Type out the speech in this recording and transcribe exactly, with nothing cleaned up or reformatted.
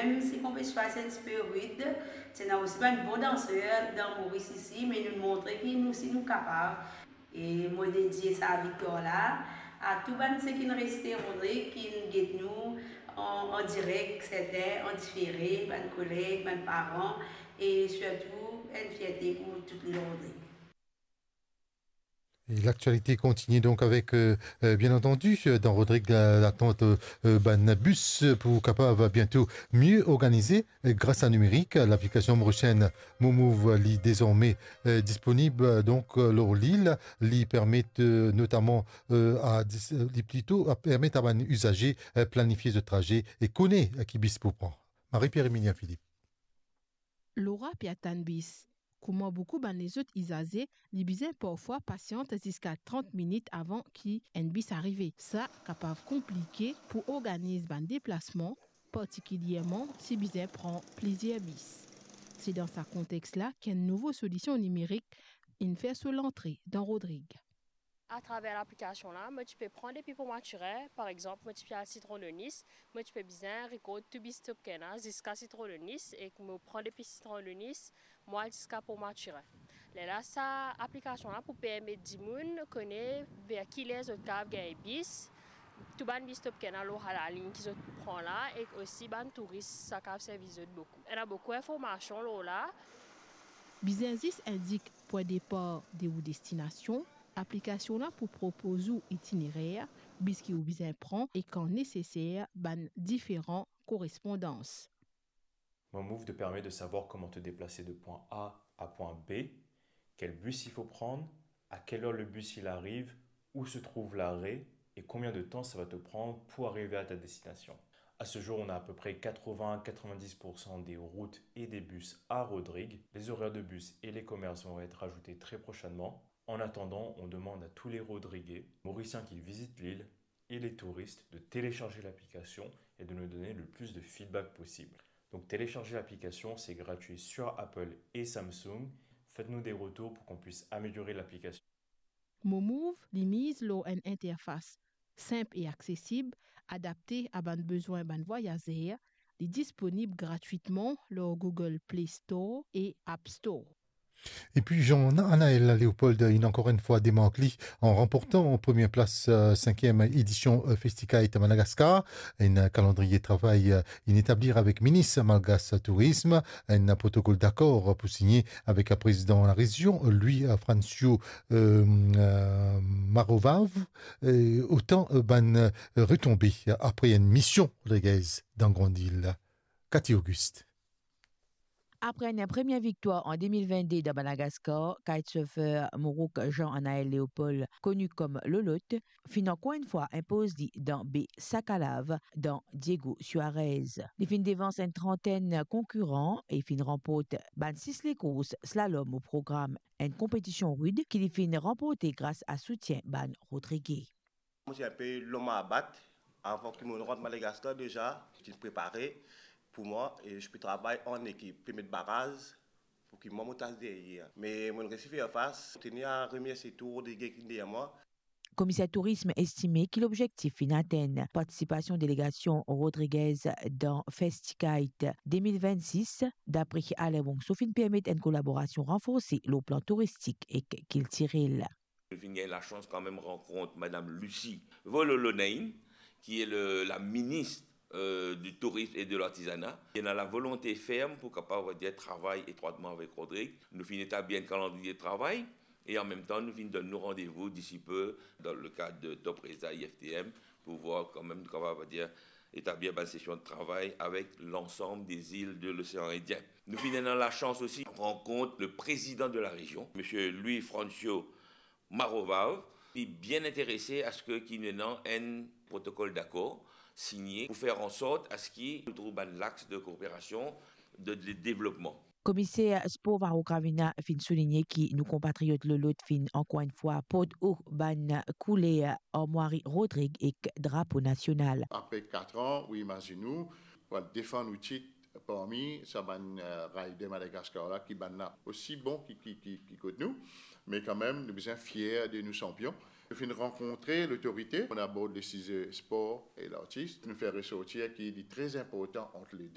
Mem si konpetision ti pe rid, ti ena osi bann bon danser dan Moris isi, me nou montre ki nou osi nou kapav. E mo dedie sa viktwar la a tou bann seki reste Rodrig ki get nou an, an direk, serten an difere, bann koleg, bann paran, e sirtou enn fierte pou tou lil Rodrig. Et l'actualité continue donc avec, euh, euh, bien entendu, euh, dans Rodrig, la, l'attente, euh, euh, bann bis pour capable bientôt mieux organiser, euh, grâce à numérique. L'application Morisien MoMove, li désormais, euh, disponible, euh, donc, euh, lor lil, li permet, euh, notamment, euh, à dis-, euh, li plito, a permet à bann uzaze, euh, planifier zot traze e kone, euh, ki bis pou pran. Marie-Pierre Emilien Philippe. Laura pe atann bis. Kouma boukou bann lezot izaze, li bizin parfwa pasiant ziska trant minit avan ki enn bis arive. Sa kapav konplike pou organiz bann deplasman, partikilierman si bizin pran plizier bis. Se dan sa kontex la ki enn nouvo solision nimerik inn fer so lantre dan Rodrig. Atraver laplikasion la, mo ti pe pran depi Port Mathurin, par exanp, mo ti pe al Citron de Nice, mo ti pe bizin rekord tou bis Stop Kena ziska Citron de Nice, e mo pran depi Citron de Nice, mo al ziska Port Mathurin. Lerla sa aplikasion la pou permet dimoun kone ver kiler zot kapav gagn bis, tou bann bis Stop Kena lor sa lalign ki zot pran la, e osi bann touris, sa kapav servi zot boukou. Ena boukou informasion lor la. Bizin zis indik pwin depar de ou destinasion, aplikasion la pou propoz ou itinerer, bis ki ou bizin pran e kan neseser bann diferan korespondans. MoMove te permet de savoir comment te déplacer de point A à point B, quel bus il faut prendre, à quelle heure le bus il arrive, où se trouve l'arrêt et combien de temps ça va te prendre pour arriver à ta destination. À ce jour, on a à peu près quatre-vingts à quatre-vingt-dix pour cent des routes et des bus à Rodrig. Les horaires de bus et les commerces vont être rajoutés très prochainement. En attendant, on demande à tous les Rodriguais, Mauriciens qui visitent l'île et les touristes de télécharger l'application et de nous donner le plus de feedback possible. Donc téléchargez l'application, c'est gratuit sur Apple et Samsung. Faites-nous des retours pour qu'on puisse améliorer l'application. MoMove, li miz lor enn interfas sinp e aksesib, adapte a bann bezwin bann vwayazer, li disponib gratwitman lor Google Play Store e App Store. Et puis Jean Anaël Léopold, il a encore une fois démarqué en remportant en première place, euh, cinquième édition, euh, Festikite Madagascar, un calendrier de travail, euh, inn etablir avek minis malgas tourism, enn protokol dakor pou signe avek prezidan larezion, Louis Francio, euh, euh, Marovav, euh, otan, euh, bann, euh, retonbe apre enn mision Rodriguez dan Grande Île. Cathy Auguste. Apre enn premie viktwar an de mil vennde dan Madagascar, kitesurfer Mourouk Jean Anaël Léopold, koni kom Lolot, finn ankor enn fwa inpoz li dan be Sakalav dan Diego Suarez. Li finn devans enn trantenn konkiran e finn ranport bann sis lekours slalom o program, enn konpetision rid ki li finn ranporte gras a soutien bann Rodrige. Mo ti inpe lom a bat avan ki mo rant Madagaskar deza, ti prepare pou mwa e ti pe travay an ekip, pe met baraz pou ki mwa mo tas deryer. Me mo resi fer fas, mo teni a remersie tou Rodrige ki deryer mwa. Komiser tourism estime ki lobzektif finn atenn. Partisipasion delegasion Rodriguez dan Festikite de mil vennsis, dapre Alain Monceau, finn permet enn kolaborasion ranforse lor plan touristik ek kiltirel. Nou finn gagn lasans kanmem rankont Madam Lucie Vololonein, ki e le, la minis, euh, du Tourisme et de l'Artisanat. Ena lavolonte ferm pou kapav, on va dire, travay etrwatman avek Rodrig. Nou finn etablir enn kalandriye travay e an mem tan nou finn donn nou randevou disi pe dan le kad de Top Reza I F T M pou vwar kanmem nou kapav, on va dire, etablir bann sesion de travay avek lansam de zil de Losean Indien. Nou finn ena lasans osi rankont le prezidan de larezion, Misie Louis Francio Marovav, li bien interese a se ki nou ena enn protokol dakor signe pou fer ansort a se ki nou trouv bann lax de kooperasion, de, de devlopman. Komiser spor Varro Gravina finn souligne ki nou konpatriot Lolot finn ankor enn fwa port o bann kouler armwari Rodrig ek drapo nasional. Apre kat an, ou imazinn ou, pou al defann ou tit parmi sa bann, euh, rider Madagaskar la, ki bann la osi bon ki, ki, ki, ki kot nou, me kanmem nou bizin fier de nou sanpion. Nou finn rankontre lotorite, nou abord le size spor e lartis, nou fer resortir ki li tre inportan ant le de.